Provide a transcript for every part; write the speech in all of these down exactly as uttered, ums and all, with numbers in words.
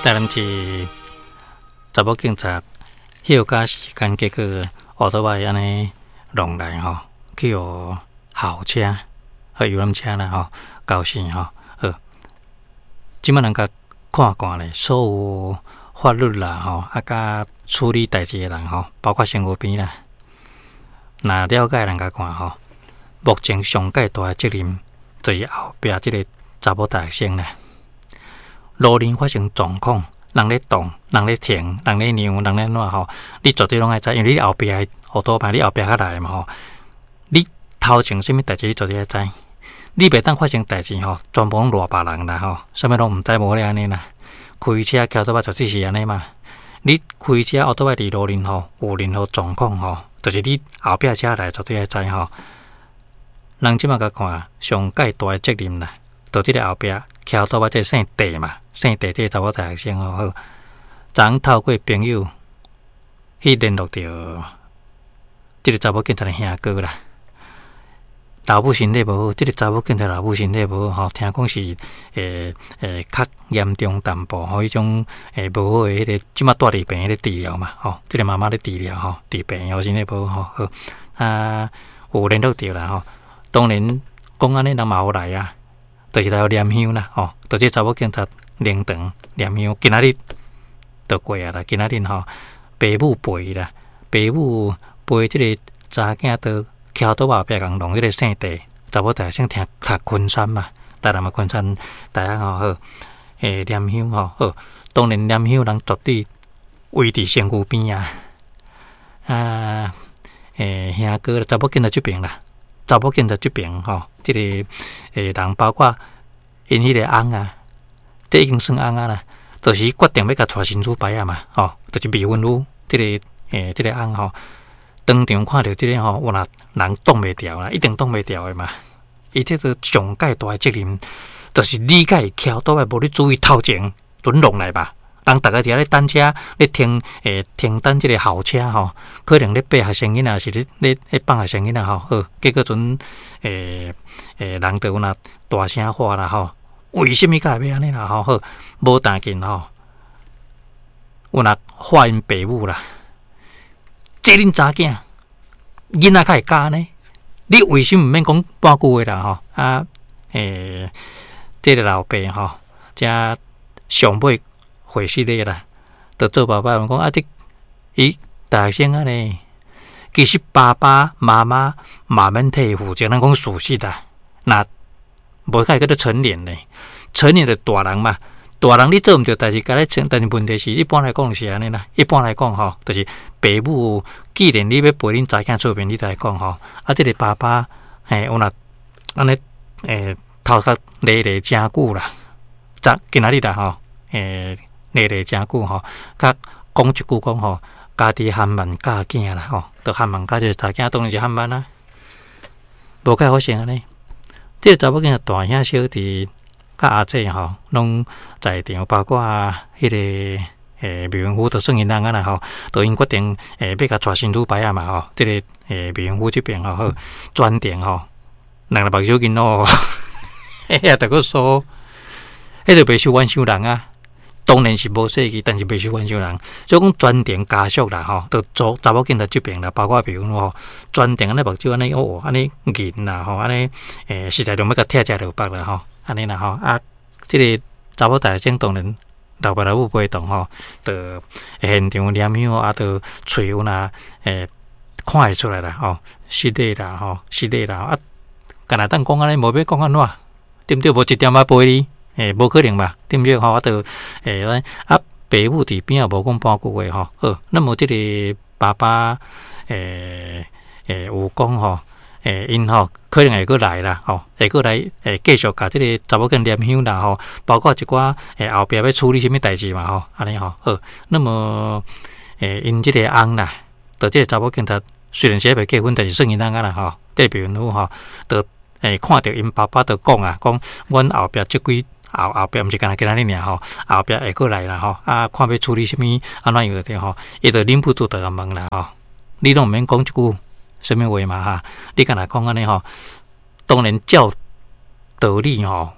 台南市查某警察歇假時間，結果烏托邦按呢弄來吼，去予校車和遊覽車啦吼，交死吼。好，這擺人共看看咧，所有法律啦吼，啊佮處理代誌的人吼，包括身軀邊啦，若了解人共看吼，目前上蓋大的責任就是後壁這个查某大學生啦。路面發生狀況，人咧動，人咧停，人咧讓，人咧按怎吼，你絕對攏愛知，因為你後壁的烏托邦，你後壁較來嘛吼。你頭前啥物代誌，你絕對愛知。你袂當發生代誌吼，全部攏賴別人啦吼，啥物攏毋知無咧按呢啦。開車騎倒擺絕對是按呢嘛。你開車烏托邦佇路面吼，有任何狀況吼，就是你後壁車來絕對愛知吼。人這擺共看，上蓋大的責任啦，就這个後壁騎烏托邦這个姓鄭嘛。姓鄭這个查某大學生吼，好，昨昏透過朋友去聯絡著這个查某警察的兄哥啦。老母身體無好，這个查某警察老母身體無好吼，聽講是會會較嚴重淡薄吼，彼種會無好的彼个，這擺蹛佇病院咧治療嘛吼，這个媽媽咧治療吼，佇病院身體無好吼，好啊，有聯絡著啦吼。當然講按呢人嘛有來啊，就是來予念香啦吼，就這查某警察靈堂念香，今仔日就過啊啦，今仔日吼，爸母陪啦，爸母陪這个查囝到橋頭後壁共弄這个姓鄭查某大學生聽讀昆山嘛，台南的昆山大學吼好，欸念香吼好，當然念香人絕對圍佇身軀邊啊，啊，欸兄哥查某警察這爿啦，查某警察這爿吼，這个欸人包括𪜶彼个翁啊，這已經算翁啊啦，就是決定欲共娶神主牌仔嘛，吼，就是未婚夫，這个欸這个翁吼。當場看著這个吼，有若人擋袂牢啦，一定擋袂牢的嘛。伊這個上蓋大的責任，就是你共伊騎倒來無咧注意頭前，準弄來吧。人逐家佇遐咧等車，咧停欸停等這个校車吼，可能咧爬學生囡仔，是咧咧咧放學生囡仔吼。好，結果陣欸欸人就有若大聲喊啦吼，為啥物共會欲按呢啦吼？好，無當緊吼，有若喊𪜶爸母啦。這恁查囝囡仔較會教呢？你為啥物毋免講半句話啦？吼啊！欸，這个老爸吼，才上尾回失禮啦，就做爸爸講啊，這伊大學生按呢，其實爸爸媽媽嘛免替伊負責，咱講事實啦。若無較會叫做成年咧，成年就大人嘛。大人你做毋對代誌，共你承，但是問題是，一般來講是按呢啦。一般來講吼，就是爸母既然你欲陪恁查囝出面，你就來講吼。啊，這个爸爸嘿，有若按呢欸，頭殼咧咧誠久啦，昨今仔日啦吼，欸，咧咧誠久吼，佮講一句講吼，家己含萬教囝啦吼，就含萬教這个查囝當然是含萬啦，無該發生按呢。這个查某囝大兄小弟。佮阿姊吼，攏在場，包括彼个欸未婚夫，就算𪜶翁仔啦吼，就𪜶決定欸欲共娶新女牌仔嘛吼，這个欸未婚夫這爿吼好，全程吼，兩个目睭緊咯，遐著閣說，彼個袂受冤傷人啊，當然是無說去，但是袂受冤傷人，所以講全程家屬啦吼，就做查某警察這爿啦，包括未婚夫吼，全程按呢目睭按呢哦，按呢銀啦吼，按呢欸實在就欲共拆食落腹啦吼。按呢啦吼，啊，這个查某大學生當然老爸老母陪同吼，就現場念香啊，就喙有若欸看會出來啦吼，失禮啦吼，失禮啦啊，敢若當講按呢，無欲講按怎，對毋對？無一點仔陪你，欸，無可能吧？對毋對？吼，啊，就欸啊，爸母佇邊仔無講半句話吼，好，那麼這个爸爸欸欸有講吼。欸，𪜶吼可能會閣來啦，吼，會閣來會繼續共這个查某囝念香啦，吼，包括一寡欸後壁欲處理啥物代誌嘛，吼，按呢吼，好，那麼欸，𪜶這个翁啦，就這个查某警察雖然是還袂結婚，但是算𪜶翁仔啦，吼，這個未婚夫吼，就欸看著𪜶爸爸就講啊，講阮後壁這幾後後壁毋是干焦今仔日爾吼，後壁會閣來啦，吼，啊，看欲處理啥物按怎樣就對吼，伊就忍不住就共問啦，吼，你攏毋免講一句啥物話嘛哈？你敢若講按呢吼？當然照道理吼，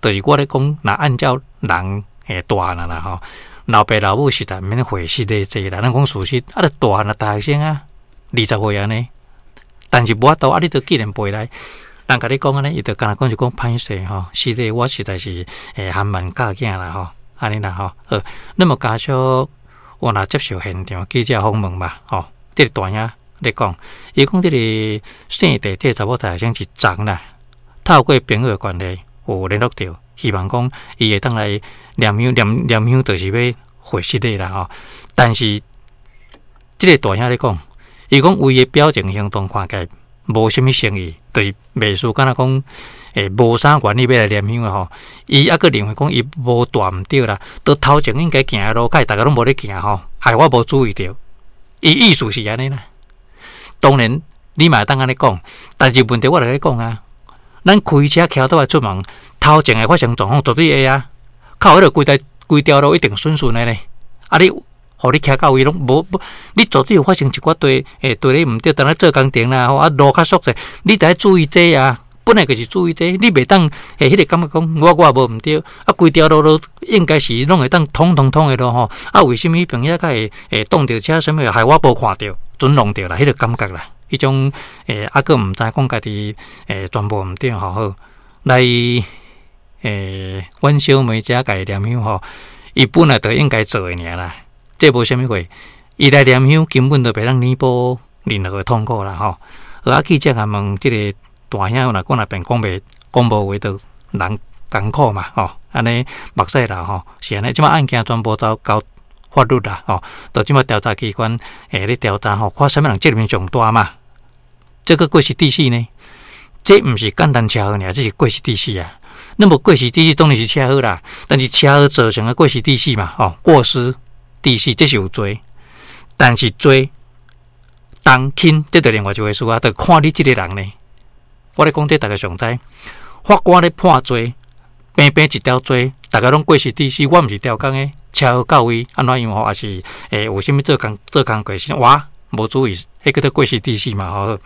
就是我咧講，若按照人欸，大漢啦吼，老爸老母實在毋免會失禮這啦。咱講事實，啊，著大漢啊，大學生啊，二十歲按呢，但是無法度啊，你都既然陪來，人共你講按呢，伊就敢若講就講歹勢吼，失禮，我實在是會含萬教囝啦吼，按呢啦吼。好，那麼家屬我若接受現場記者訪問嘛，吼，這個大兄咧講，伊講這個姓鄭這個查某大學生是昨啦，透過朋友的關係有聯絡著，希望講伊會當來念香念念香，就是欲回失禮啦吼。但是這個大兄咧講，伊講為的表情行動看起來無啥物誠意，就是袂輸敢若講，欸，無啥願意欲來念香的吼。伊猶閣認為講伊無大毋對啦，都頭前應該行的路，較逐家攏無咧行吼，害我無注意著。伊意思是按呢啦。當然你嘛會當按呢講，但是問題我來共你講啊，咱開車騎倒來出門，頭前會發生狀況絕對會啊。靠彼個規台規條路一定順順的呢。啊你，予你騎到位攏無無，你絕對有發生一寡對欸對咧毋對，當咧做工程啦吼，啊路較縮細，你著愛注意這啊。本來就是注意這，你袂當欸彼個感覺講我我也無毋對，啊規條路都應該是攏會當通通通的路吼。啊為啥物彼邊遐較會會擋著車啥物，害我無看著，準弄著啦，彼個感覺啦。彼種欸啊閣毋知講家己欸全部毋對吼好來欸，阮小妹遮共伊念香吼，伊本來就應該做的爾啦，這無啥物貨，伊來念香根本就袂當彌補任何的痛苦啦吼。啊記者共問這個大兄若講若變講袂講無話，就人艱苦嘛吼，按呢目屎流吼，是按呢，這擺案件全部都交法律啦吼，到這擺調查機關會咧調查吼，看啥物人責任上大嘛。這個過失致死呢？這毋是簡單車禍爾，這是過失致死啊。那麼過失致死當然是車禍啦，但是車禍造成的過失致死嘛，吼，過失致死這是有罪，但是罪重輕這就另外一回事啊，就看你這個人呢。我咧講這逐家上知，法官咧判罪，平平一條罪，逐家攏過失致死，我毋是刁工的，車禍到位按怎樣吼，抑是欸有啥物做工做工過失，我無注意，彼叫做過失致死嘛吼。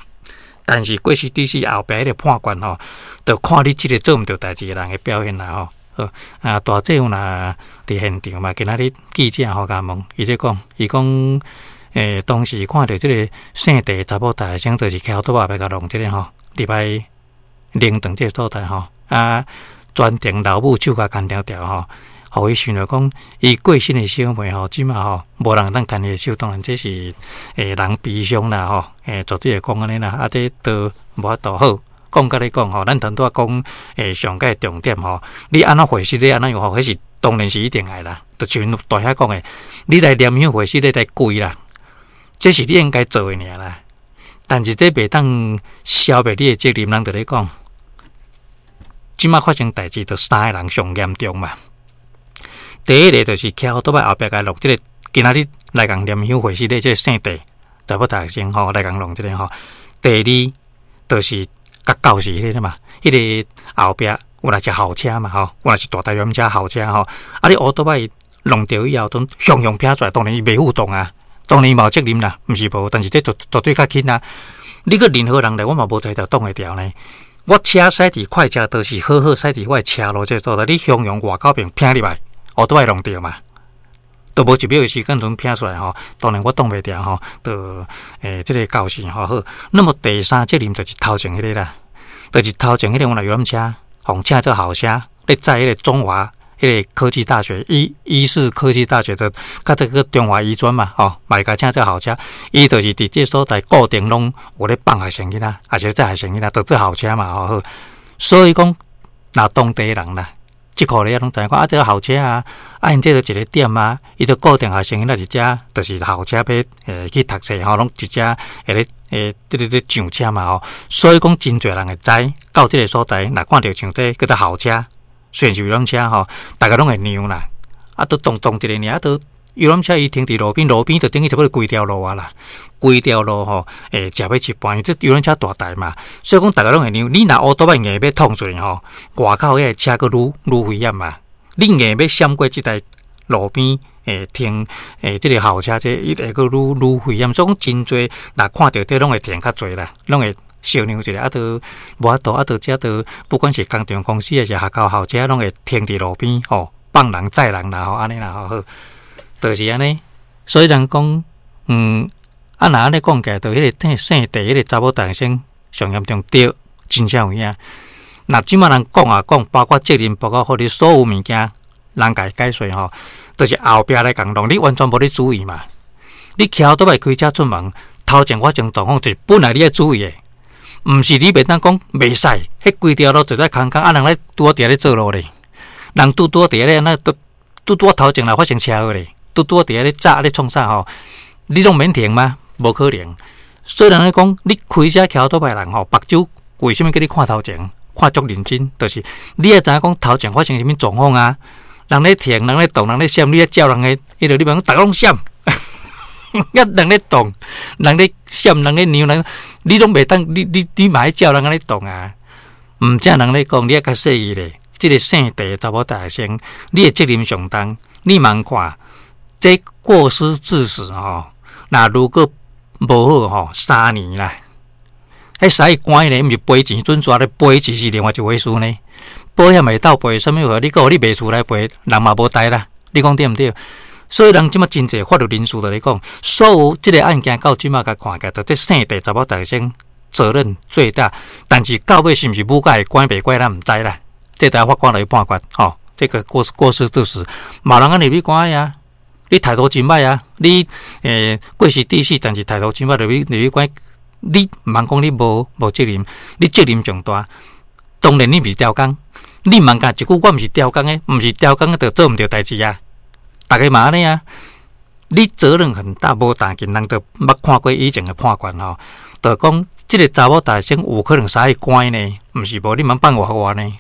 但是過失致死後壁彼個判決吼，就看你這個做毋著代誌的人的表現啦吼。好啊，大姐夫若佇現場嘛，今仔日記者吼共問，伊咧講，伊講欸當時看著這個姓鄭查某大學生，就是騎倒仔欲共弄這個吼，入來靈堂這個所在吼，啊，全程老母手共牽牢牢吼，予伊想著講，伊過身的小妹吼，這馬吼無人會當牽伊的手，當然這是欸人悲傷啦吼，欸絕對會講按呢啦，啊這都無法度好。講甲你講吼，咱頭拄仔講欸上蓋重點吼，你按怎回事你按怎樣吼，彼是當然是一定愛啦。就像大兄講的，你來念香回事你來跪啦，這是你應該做的爾啦。但是這袂當消滅你的責任，人就咧講，這馬發生代誌，就三个人上嚴重嘛。第一個就是騎歐多擺後壁共弄這個，今仔日來共念香回事的這個姓鄭查某大學生吼，來共弄這個吼。第二就是共肇事彼個嘛，彼個後壁有若是校車嘛吼，有若是大台遊車校車吼，啊你烏多擺弄著以後，陣雄雄撇出來，當然伊袂負動啊，當然伊嘛有責任啦，毋是無，但是這絕絕對較輕啊。你閣任何人來，我嘛無才調擋會牢呢。我車駛佇快車道是好好駛佇我的車路這個所在，你雄雄外口邊撇入來，烏多擺弄著嘛，都無一秒的時間陣撇出來吼，當然我擋袂牢吼，就欸這個肇事吼好。那麼第三責任就是頭前彼個啦，就是頭前彼個有若遊覽車，予請做校車咧載彼個中華彼個科技大學醫醫事科技大學的，佮這個中華醫專嘛，吼，嘛會共請做校車，伊就是佇這所在固定攏有咧放學生囡仔，抑是載學生囡仔，就做校車嘛，吼好。所以講，若當地人啦，這箍咧攏知影講啊，這個校車啊，啊𪜶這就一個點啊，伊就固定學生囡仔佇遮，就是校車欲欸去讀冊吼，攏佇遮會咧欸，佇咧咧上車嘛吼。所以講，真濟人會知到這個所在，若看著像這叫做校車，雖然是遊覽車吼，逐家攏會讓啦。啊，都動動一个爾，啊，都遊覽車伊停佇路邊，路邊就等於差不多規條路啊啦，規條路吼，會食欲一半，因為這遊覽車大台嘛，所以講逐家攏會讓。你若烏多擺硬欲創出來吼，外口彼个車閣愈愈危險嘛。你硬欲閃過這台路邊會停欸這个校車，這伊會閣愈愈危險。所以講真濟，若看著這攏會停較濟啦，攏會相讓一下，啊，都無法度，啊，都這都不管是工廠公司抑是學校校車，攏會停佇路邊吼。放人載人啦吼，按呢啦吼好，就是按呢。所以人講，嗯，啊若按呢講起來，就彼个姓鄭彼个查某大學生上嚴重，對，真正有影。若這馬人講啊講，包括責任，包括予你所有物件，人共伊解說吼，就是後壁來共弄，你完全無咧注意嘛。你騎歐多擺開車出門，頭前發生狀況，就是本來你愛注意的，毋是你袂當講袂使，彼規條路坐在空空，啊人咧拄好佇遐咧做路咧，人拄拄好佇遐咧，那拄拄拄頭前來發生車禍咧，拄拄好佇遐咧炸咧創啥吼，你攏免停嗎？無可能。所以人咧講，你開車騎歐多擺人吼，目睭為啥物叫你看頭前，看足認真，就是你愛知影講頭前發生啥物狀況啊？人咧停，人咧動，人咧閃，你咧照人的，彼個你袂講，逐个攏閃，啊人咧動，人咧閃，人咧讓人，你攏袂當，你你你嘛愛照人按呢動啊？毋只人咧講，你愛較細意咧，這个姓鄭查某大學生，你的責任上重，你茫看，這過失致死吼，若如果無好吼，三年啦，彼使關咧，毋是賠錢準抓咧，賠錢是另外一回事呢。保險會當賠啥物貨？你閣予你賣厝來賠，人嘛無代啦。你講對毋對？所以人這馬真濟法律人士就咧講，所有這个案件到這馬共看起來，就這姓鄭查某大學生責任最大。但是到尾是毋是母會關袂關，咱毋知啦。這待法官來判決吼。這個過失過失致死，嘛人按呢入去關啊。你態度真歹啊！你欸過失致死，但是態度真歹，入去入去關，你毋通講你無無責任，你責任上大。當然你毋是刁工，你毋通講一句我毋是刁工的，毋是刁工的就做毋著代誌啊！逐个嘛按呢啊，你責任很大，無但近人都捌看過以前的判決吼，就講這个查某大學生有可能使去關呢，毋是無你毋通放活活呢？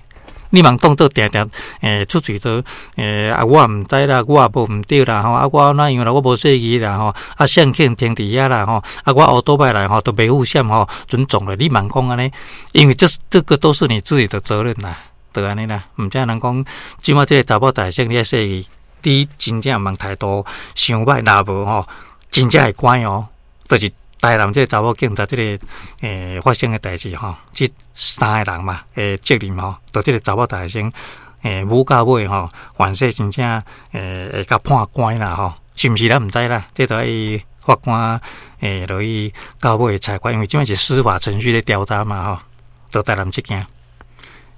你茫當做定定欸出喙都欸啊，我毋知啦，我也無毋對啦吼，啊我哪樣啦，我無細意啦吼，啊誰去停佇遐啦吼，啊我烏多擺來吼都袂付險吼，準撞了，你茫講按呢？因為這這個都是你自己的責任啦，就按呢啦，毋只人講，這馬這个查某大學生你愛細意，你真正毋通態度傷歹，若無吼，真正會關哦，就是台南這个查某警察這个欸發生的代誌吼，這三个人嘛，的責任吼，就這个查某大學生欸母到尾吼，反正真正欸會共判關啦吼，是毋是咱毋知啦，這都愛法官欸落去到尾裁決，因為這馬是司法程序咧調查嘛吼，就台南這件。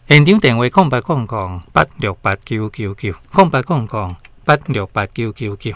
現場電話空八空空八六八九九九，空八空空八六八九九九。